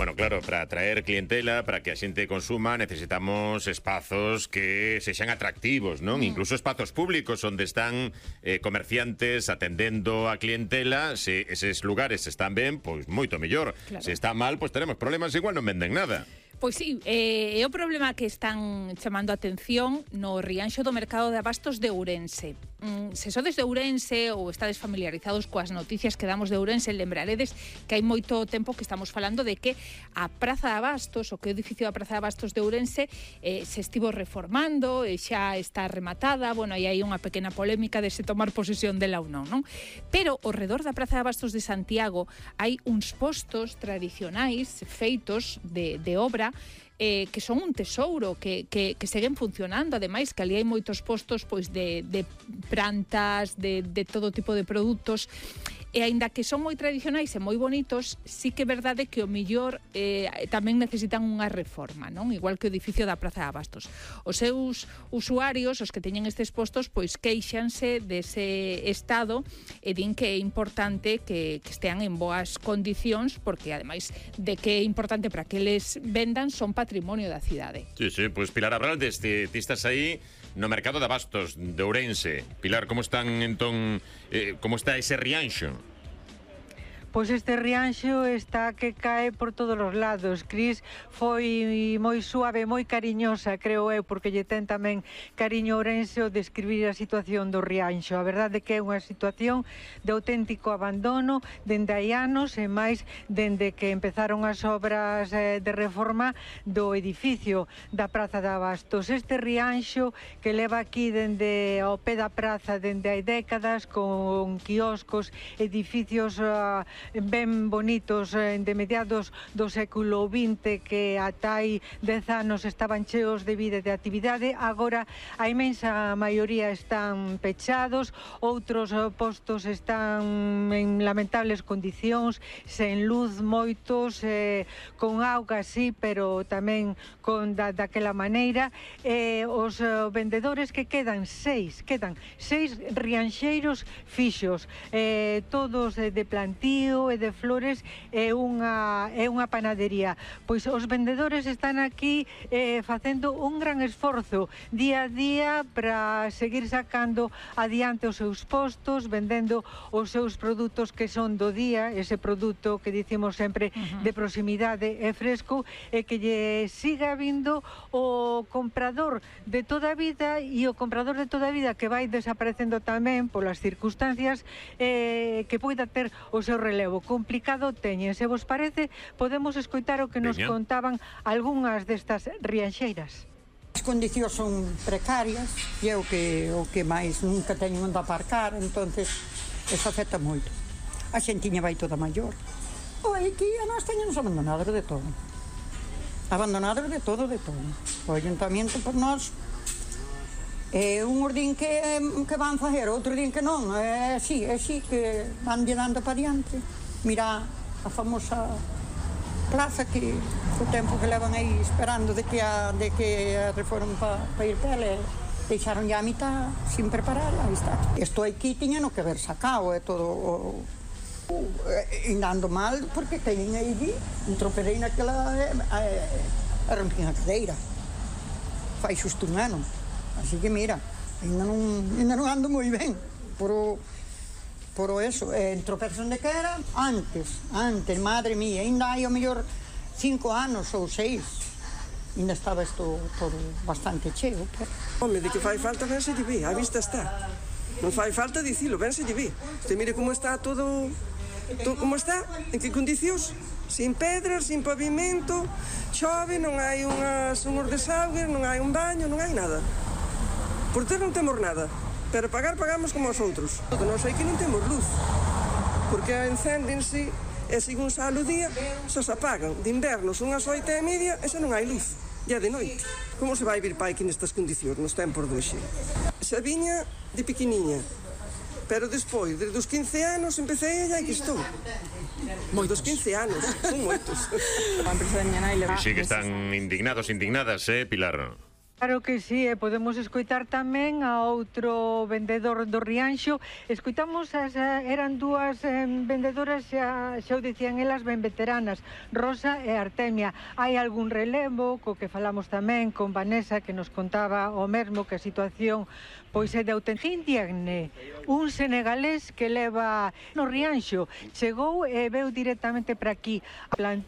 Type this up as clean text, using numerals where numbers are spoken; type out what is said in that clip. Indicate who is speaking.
Speaker 1: Bueno, claro, para atraer clientela, para que a xente consuma, necesitamos espazos que sexan atractivos, non? Incluso espazos públicos onde están comerciantes atendendo a clientela. Se eses lugares están ben, pois moito mellor.
Speaker 2: Claro.
Speaker 1: Se está mal, pois teremos problemas, igual non venden nada.
Speaker 2: Pois sí, é o problema que están chamando a atención no Rianxo do Mercado de Abastos de Ourense. Se sodes de Ourense ou estades familiarizados coas noticias que damos de Ourense, lembraredes que hai moito tempo que estamos falando de que a Praza de Abastos, o que é o edificio da Praza de Abastos de Ourense, se estivo reformando, e xa está rematada. Bueno, aí hai unha pequena polémica de se tomar posesión dela ou non, non? Pero ao redor da Praza de Abastos de Santiago hai uns postos tradicionais feitos de obra que son un tesouro, que seguen funcionando. Ademais, que ali hai moitos postos pois de plantas, de todo tipo de produtos. E aínda que son moi tradicionais e moi bonitos, sí que é verdade que o millor tamén necesitan unha reforma, non? Igual que o edificio da Praza de Abastos. Os seus usuarios, os que teñen estes postos, pois queixanse dese estado e din que é importante que estean en boas condicións, porque ademais de que é importante para que les vendan, son patrimonio da cidade.
Speaker 1: Sí, pois Pilar Abraldes, ti estás aí no Mercado de Abastos de Ourense. Pilar, como están entón, como está ese Rianxo?
Speaker 3: Pois este Rianxo está que cae por todos os lados. Cris foi moi suave, moi cariñosa, creo eu, porque lle ten tamén cariño Ourense o describir a situación do Rianxo. A verdade que é unha situación de auténtico abandono dende hai anos, e máis dende que empezaron as obras de reforma do edificio da Praza de Abastos. Este Rianxo que leva aquí dende ao pé da praza dende hai décadas, con quioscos, edificios ben bonitos de mediados do século XX, que ata hai 10 anos estaban cheos de vida e de actividade. Agora a imensa maioría están pechados, outros postos están en lamentables condicións, sen luz moitos, con auga sí, pero tamén con daquela maneira. Os vendedores que quedan seis rianxeiros fixos, todos de plantío e de flores, é unha panadería. Pois os vendedores están aquí facendo un gran esforzo día a día para seguir sacando adiante os seus postos, vendendo os seus produtos que son do día, ese produto que dicimos sempre de proximidade e fresco, e que lle siga vindo o comprador de toda a vida, e o comprador de toda a vida que vai desaparecendo tamén polas circunstancias, que poida ter o seu relevo. Complicado teñen. Se vos parece, podemos escoitar o que nos contaban algunhas destas rianxeiras.
Speaker 4: As condicións son precarias, e é o que máis, nunca teño onde aparcar, entonces eso afecta moito. A xentiña vai toda maior. Aquí a nós teñemos abandonados de todo. Abandonados de todo. O ayuntamiento por nós, uns din que van facer, outro din que non. É así que van dando para diante. Mira a famosa plaza que o tempo que levan aí esperando de que a reforma para ir para ela, deixaron ya a mitad sin prepararla. Aí está. Isto aquí tiña no que ver sacado, é todo andando mal, porque teñen aí un troperei naquela a rompín a cadeira fai xusto un ano, así que mira, ainda non ando moi ben por eso, tropezos onde que era antes, madre mía, ainda hai o mellor 5 anos ou 6, ainda estaba isto todo bastante cheo.
Speaker 5: Home, de que fai falta, ben se lle ve, a vista está, non fai falta dicilo, ben se lle ve. Usted mire como está todo como está, en que condicións, sin pedras, sin pavimento, chove, non hai unhos desaugues, non hai un baño, non hai nada. Por ter non temos nada, pero pagamos como os outros. Non sei que non temos luz, porque encéndense e según sale o día, só se apagan. De inverno son as 8:30 e xa non hai luz, ya de noite. Como se vai vir pai aquí nestas condicións, nos tempos de hoxe? Xa viña de pequeniña, pero despois, desde os 15 anos, empecé e aquí estou. Moitos 15 anos, son moitos.
Speaker 1: Sí que están indignados, indignadas, Pilar?
Speaker 3: Claro que sí, e podemos escoitar tamén a outro vendedor do Rianxo. Escoitamos, eran dúas vendedoras, xa o dicían elas, ben veteranas, Rosa e Artemia. Hai algún relevo, co que falamos tamén con Vanessa, que nos contaba o mesmo, que a situación pois é de auténtica indigne. Un senegalés que leva no Rianxo chegou e veu directamente para aquí. Plantou